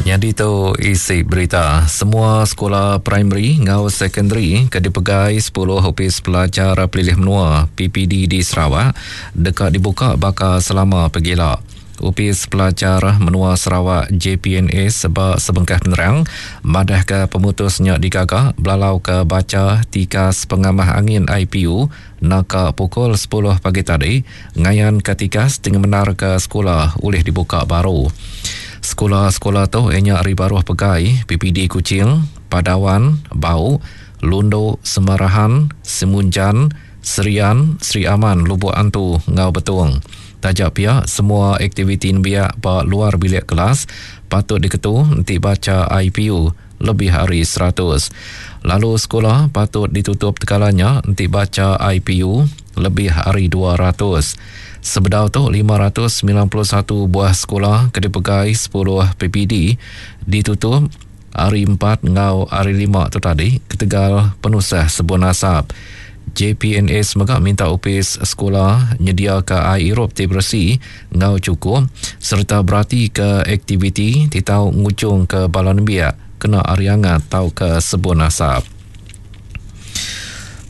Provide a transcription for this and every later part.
Nyadi tu isi berita. Semua sekula primary enggau sekondari ke dipegai sepuluh Opis Pelajar Pelilih Menua, PPD, di Sarawak deka dibuka baka selama pegila. Opis Pelajar Menua Sarawak, JPNS, ba sebengkah penerang madahka pemutus nya digaga belalauka bacha tikas pengamah angin IPU naka pukul sepuluh pagi tadi ngayanka tikas ti ngemendarka sekula ulih dibuka baru. Sekula-sekula tu iya nya ari baruh pegai PPD Kuching, Padawan, Bau, Lundu, Semarahan, Simunjan, Serian, Sri Aman, Lubok Antu enggau Betong. Taja pia, semua aktiviti nembiak ba luar bilik kelas patut diketu enti bacha IPU lebih ari 100. Lalu sekula patut ditutup tekala nya enti bacha IPU lebih ari 200. Sebedau tu, 591 buah sekula ke dipegai sepuluh PPD ditutup Hari Empat enggau Hari Lima tu tadi ketegal penusah sebun asap. JPNS mega minta opis sekula nyediaka ai irup ti beresi enggau chukup sereta beratika aktiviti ti tau ngujungka bala nembiak kena ari angat tauka sebun asap.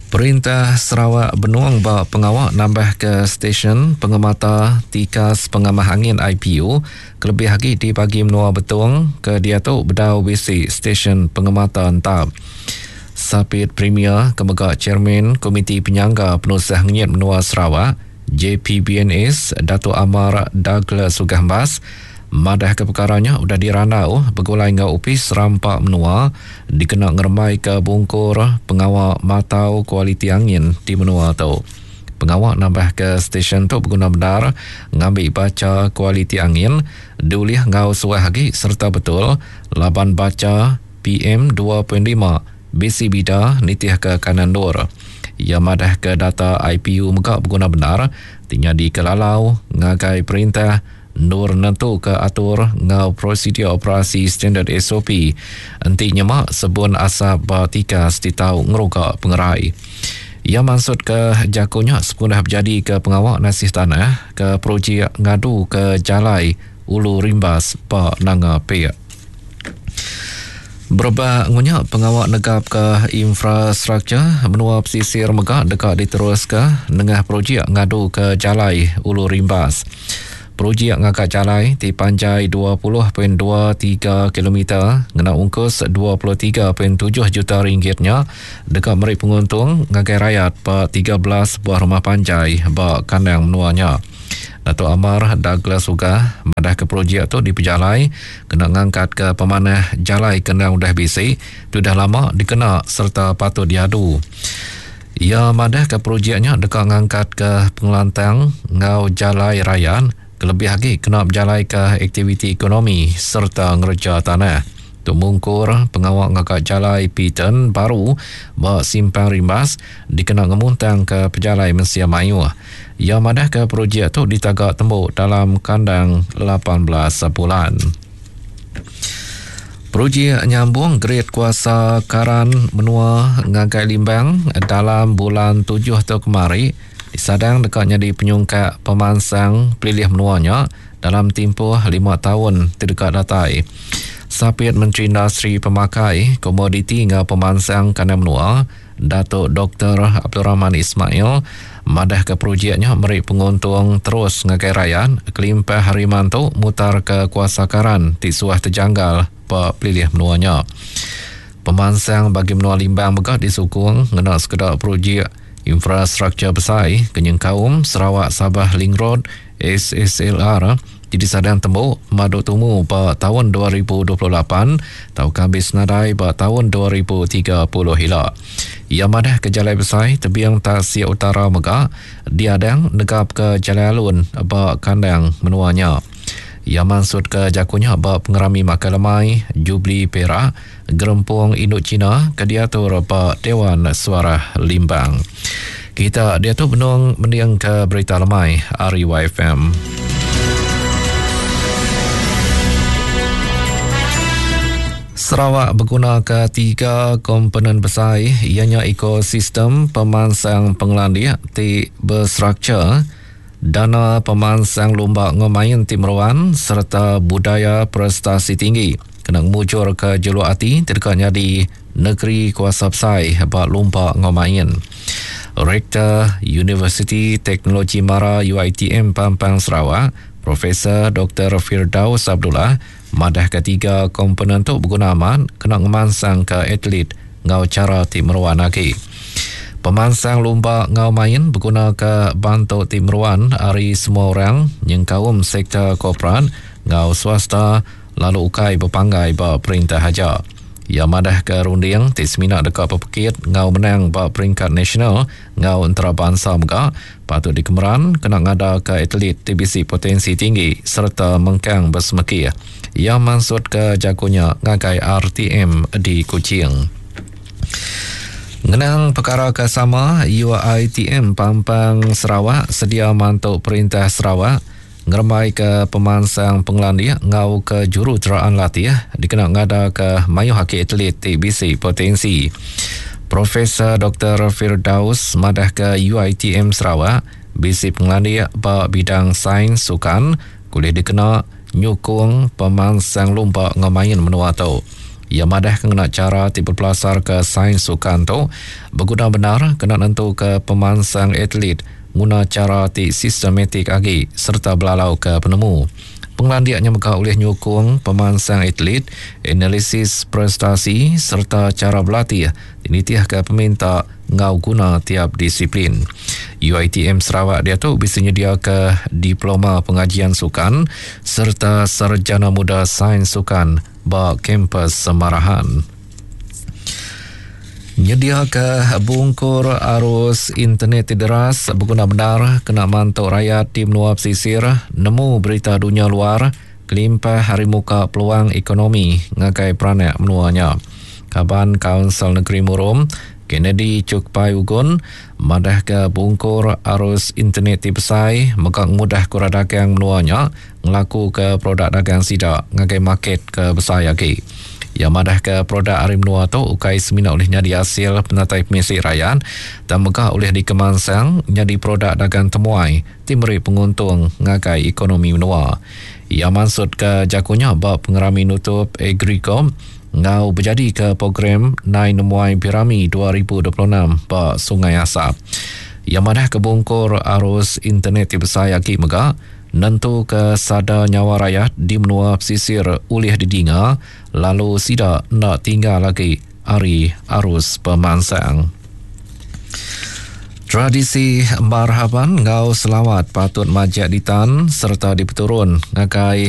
Perintah Sarawak benung ba pengawa nambahka stesyen pengemata tikas pengamah angin IPU kelebih agi di bagi menua Betong ke diatu bedau bisi stesyen pengemata entap. Sapit Premier ke mega Chairman Komiti Penyangga Penusah Ngenyit Menua Sarawak, JPBNS, Datuk Amar Douglas Uggah Embas madahka pekara nya udah dirandau begulai enggau Opis Rampa Menua dikena ngerembaika bungkur pengawa matau kualiti angin di menua tu. Pengawa nambahka stesyen tu beguna bendar ngambi bacha kualiti angin diulih enggau suah agi sereta betul laban bacha PM 2.5 bisi bida nitihka kanan endur. Iya madahka data IPU mega beguna bendar ti nyadika lalau ngagai perintah endur nentuka atur enggau prosedur operasi standard SOP enti nyema sebun asap ba tikas ti tau ngeruga pengerai. Iya mansutka jaku nya sepengudah bejadika pengawa nasih tanah ke projek ngaduka jalai Ulu Rimbas ba Nanga Pik. Berebak ngunya pengawa negapka infrastruktur menua pesisir mega deka diteruska nengah projek ngaduka jalai Ulu Rimbas. Projek ngaga jalai ti panjai 20.23 kilometer ngena ungkus 23.7 juta ringgit nya deka meri penguntung ngagai rayat ba 13 buah rumah panjai ba kandang menua nya. Datuk Amar Douglas Uggah madahka projek tu dipejalai kena ngangkatka pemanah jalai ke endang udah bisi ti udah lama dikena sereta patut diadu. Iya madahka projek nya deka ngangkatka pengelantang enggau jalai rayat kelebih agi kena bejalaika aktiviti ekonomi sereta ngereja tanah. Tu mungkur pengawa ngaga jalai P-turn baru ba Simpang Rimbas dikena ngemuntangka pejalai mensia mayuh. Iya madahka projek tu ditaga tembu dalam kandang 18 bulan. Projek nyambung grid kuasa karan menua ngagai Limbang dalam bulan tujuh tu kemari disadang deka nyadi penyungkak pemansang pelilih menua nya dalam timpuh lima taun ti deka datai. Sapit Menteri Industri Pemakai, Komoditi enggau Pemansang Kandang Menua, Datuk Doktor Abdul Rahman Ismail madahka projek nya meri penguntung terus ngagai rayat kelimpah ari mantu mutarka kuasa karan ti suah tejanggal ba pelilih menua nya. Pemansang bagi menua Limbang mega disukung ngena sekeda projek infrastruktur besai ke nyengkaum Sarawak Sabah Link Road, SSLR, ti disadang tembu madu tumu ba taun 2028 tauka ambis nadai ba taun 2030 ila. Iya madahka jalai besai tebing Tasik Utara mega diadang negapka jalai alun ba kandang menua nya. Iya mansutka jaku nya ba pengerami makai lemai Jubli Perak Gerempung Indu China ke diatur ba Dewan Suarah Limbang. Kita diatu benung mendingka berita lemai ari YFM. Sarawak begunaka tiga komponen besai iya nya ekosistem pemansang pengelandik ti bestruktur, dana pemansang lumba enggau main ti meruan sereta budaya prestasi tinggi. kena ngemujurka juluk ati ti deka nyadi negeri kuasa besai ba lumba enggau main. Rektor Universiti Teknologi Mara UiTM Pampang Sarawak, Profesor Doktor Firdaus Abdullah madahka tiga komponen tu beguna amat kena ngemansangka atlet enggau chara ti meruan agi. Pemansang lumba enggau main begunaka bantu ti meruan ari semua orang nyengkaum sektor korporat enggau swasta lalu ukai bepanggai ba perintah aja. Iya madahka runding ti semina deka bepekit enggau menang ba peringkat nasional enggau entarabansa mega patut dikemeran kena ngadaka atlet ti bisi potensi tinggi sereta mengkang besemekih. Iya mansutka jaku nya ngagai RTM di Kuching. Ngenang pekara ke sama, UiTM Pampang Sarawak sedia mantu Perintah Sarawak ngerembaika pemansang pengelandik enggau kejuruteraan latih dikena ngadaka mayuh agi atlet ti bisi potensi. Profesor Doktor Firdaus madahka UiTM Sarawak bisi pengelandik ba bidang sains sukan ke ulih dikena nyukung pemansang lumba enggau main menua tu. Iya madahka ngena chara ti bepelasarka sains sukan tu beguna bendar kena nentuka pemansang atlet nguna chara ti sistematik agi sereta belalauka penemu. Pengelandik nya mega ulih nyukung pemansang atlet, analisis prestasi sereta chara belatih ti nitihka peminta enggau guna tiap disiplin. UiTM Sarawak diatu bisi nyediaka Diploma Pengajian Sukan sereta Sarjana Muda Sains Sukan ba kampus Samarahan. Nyediaka bungkur arus internet ti deras beguna bendar kena mantu rayat di menua pesisir nemu berita dunya luar kelimpah ari muka peluang ekonomi ngagai peranak menua nya. Kaban Kaunsil Negeri Murum, Kennedy Chukpai Ugon madahka bungkur arus internet ti besai mega ngemudahka orang dagang menua nya ngelakuka produk dagang sida ngagai market ke besai agi. Iya madahka produk ari menua tu ukai semina ulih nyadi asil penatai pemisi rayat tang mega ulih dikemansang nyadi produk dagang temuai ti meri penguntung ngagai ekonomi menua. Iya mansutka jaku nya ba pengerami nutup Agricom enggau bejadika program Nai Nemuai Birami 2026 ba Sungai Asap. Iya madahka bungkur arus internet ti besai agi mega Nentuka sada nyawa rayat di menua pesisir ulih didinga lalu sida enda tinggal agi ari arus pemansang. Tradisi marhaban enggau selawat patut majak ditan sereta dipeturun ngagai.